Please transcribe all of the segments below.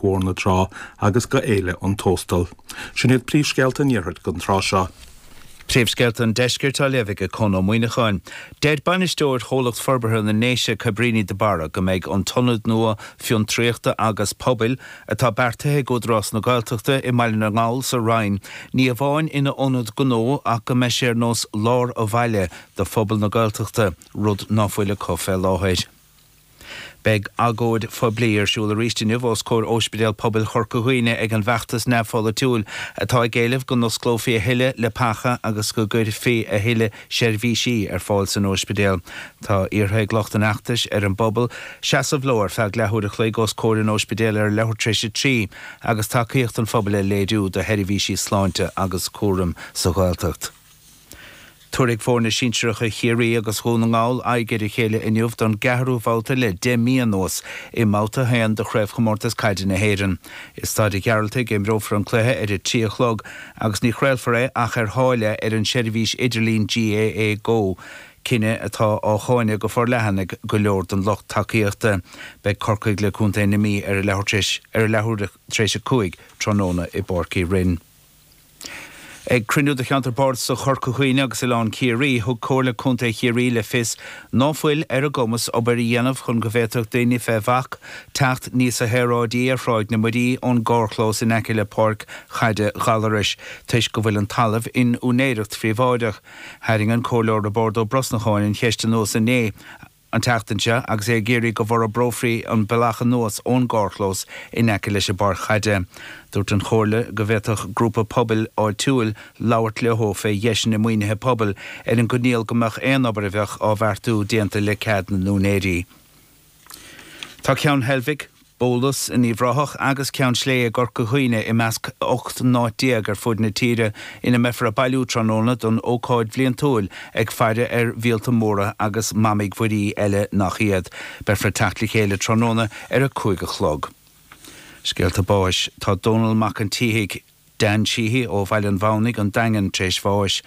Pháirc Mhór na Trá agus go Fhéile an Tóstail. Sin iad príomhscéalta an iarthair don tráth seo. Príomhscéalta an Deiscirt á léamh ag Conn Ó Muíneacháin. Deir bainisteoir Chomhlacht Forbartha na nDéise, Cabríní de Barra, go mbeidh an t-ionad nua fiontraíochta agus pobail atá beartaithe ag Údarás na Gaeltachta i mBaile na nGall sa Rinn ní amháin ina ionad gnó ach go mbeidh sé ar nós lár an bhaile do phobal na Gaeltachta, rud ná fuil acu fé láthair. Beidh agóid phoiblí ar siúl arís inniu os comhair Óispidéal Pobail Chorca Dhuibhne ag an bhfeachtas neamhpholaitiúil atá ag éileamh go n-osclófaí a thuilleadh leapacha agus go gcuirfí a thuilleadh seirbhísí ar fáil san óispidéal. Tá iarrtha ag lucht an fheachtais ar an bpobal seasamh leo ar feadh leathuair a chloig os comhair an óispidéil ar a leathuair tar éis 3 agus tacaíocht an phobail a léiriú do sheirbhísí sláinte agus cúraim sa Ghaeltacht. Tabharfaidh foirne sinsearacha Chiarraí agus Dhún na nGall aghaidh ar a chéile inniu don gceathrú babhta le 10 mí anuas i mBabhta 1 de Chraobhchomórtas Caide na hÉireann. I Staid an Ghearaltaigh a imreofar an cluiche ar a 3 a chlog agus ní chraolfar é ach ar tháille ar an seirbhís idirlín GAA Go, cinneadh atá á cháineadh go forleathan ag go leor den lucht tacaíochta. Beidh Corcaigh le contae na Mí ar a leathuair tar éis 5 tráthnóna i bPáirc Uí Rinn. Ag cruinniú de Cheantar Bardasach Chorca Dhuibhne agus Oileán Ciarraí, thug Comhairle Contae Chiarraí le fios ná fuil ar a gcumas obair a dhéanamh chun go bhféadfadh daoine fé bhac teacht níosa shaoráidí ar Thráigh na Muirí ón gcarrchlós in aice le páirc chaide Ghallarais toisc go bhfuil an talamh in úinéireacht phríobháideach. Tharraing an Comhairleoir Roibeárd Ó Brosnacháin an cheist anuas inné. an tseachtain seo agus é ag iarraidh go bhforbrófaí an bealach anuas ón gcarrchlós in aice leis an bpáirc chaide. Dúirt an Chomhairle go bhféadfadh grúpa pobail áitiúil labhairt leo fé dheiseanna maoinithe pobail ar an gcoinníoll go mbeadh aon obair a bheadh á bheartú déanta le cead na n-úinéirí. Tá Ceann Heilbhic, Bólas in Uíbh Ráthach agus Ceann Sléibhe i gCorca Dhuibhne i measc 18 n-áit ar fud na tíre ina mbeifear ag bailiú tráthnóna don ócáid bhliantúil ag faire ar mhíolta móra agus mamaigh mhuirí eile nach iad. Beifear ag teacht le chéile tráthnóna ar a 5 a chlog. Scéalta báis Tá Dónal Mac an tSíthigh, Dan Sheehy, ó Bhaile an Mhamhnaigh, An Daingean, tar éis bháis.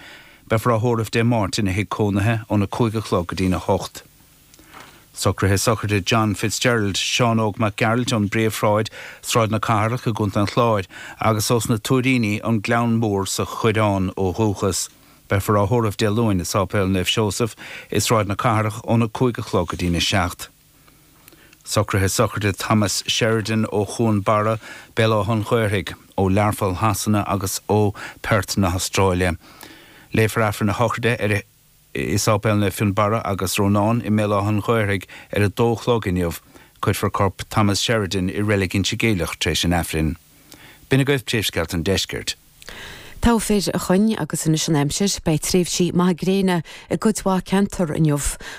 Beifear á thórramh Dé Máirt ina thigh cónaithe óna 5 a chlog go dtína 8. Socruithe sochraide John Fitzgerald, Seán Óg Mac Gearailt ón bPríomhshráid, Sráid na Cathrach i gContae an Chláir, agus ós na Tuairíní, An Gleann Mór sa Choireán ó dhúchas. Beifear á thórramh Dé Luain i Sáipéal Naomh Seosamh i Sráid na Cathrach óna 5 a chlog go dtína 7. Socruithe sochraide Thomas Sheridan ó Chuan Barra, Béal Átha an Ghaorthaidh, ó Learpholl Shasana agus ó Perth na hAstráile. Léifear Aifreann a shochraide ar a. i Sáipéal Naomh Fionnbarra agus Rónán i mBéal Átha an Ghaorthaidh ar a dó a chlog inniu. Cuirfear corp Thomas Sheridan i Reilig Inse Geimhleach tar éis an Aifrinn. B'in agaibh príomhscéalta an deiscirt. Togha fir, a Choinn, agus anois an aimsir. Beidh tréimhsí maithe gréine i gcuid mhaith ceantar inniu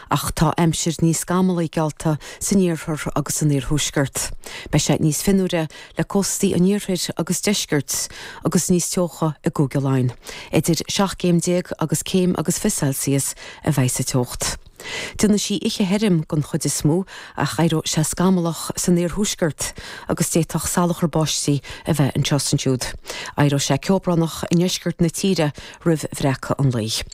ach tá aimsir níos scamallaí geallta san iarthar agus san iarthuaisceart. Beidh sé níos fionnuaire le cóstaí an iarthair agus deiscirt agus níos teocha i gCúige Laighean. Idir 17 gcéim agus céim agus 20 Celsius a bheidh sa teocht. Déanfaidh sí oíche thirim den chuid is mó ach éireoidh sé scamallach san iarthuaisceart agus d'fhéadfadh salachar báistí a bheith anseo is ansiúd. Éireoidh sé ceobránach i ndeisceart na tíre roimh bhreacadh an lae.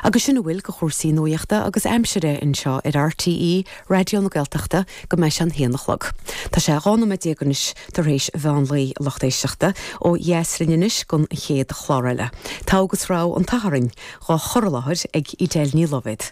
Agus sin a bhfuil de chúrsaí nuaíochta agus aimsire anseo ar RTÉ Raidió na Gaeltachta go mbeidh sé an haon a chlog. Tá sé 12 nóiméad anois tar éis mheán lae, a lucht éisteachta, ó dheas linn anois don chéad chlár eile. Togha agus Rogha an tSathairn, dhá chur i láthair ag Edel Ní Loibhéad.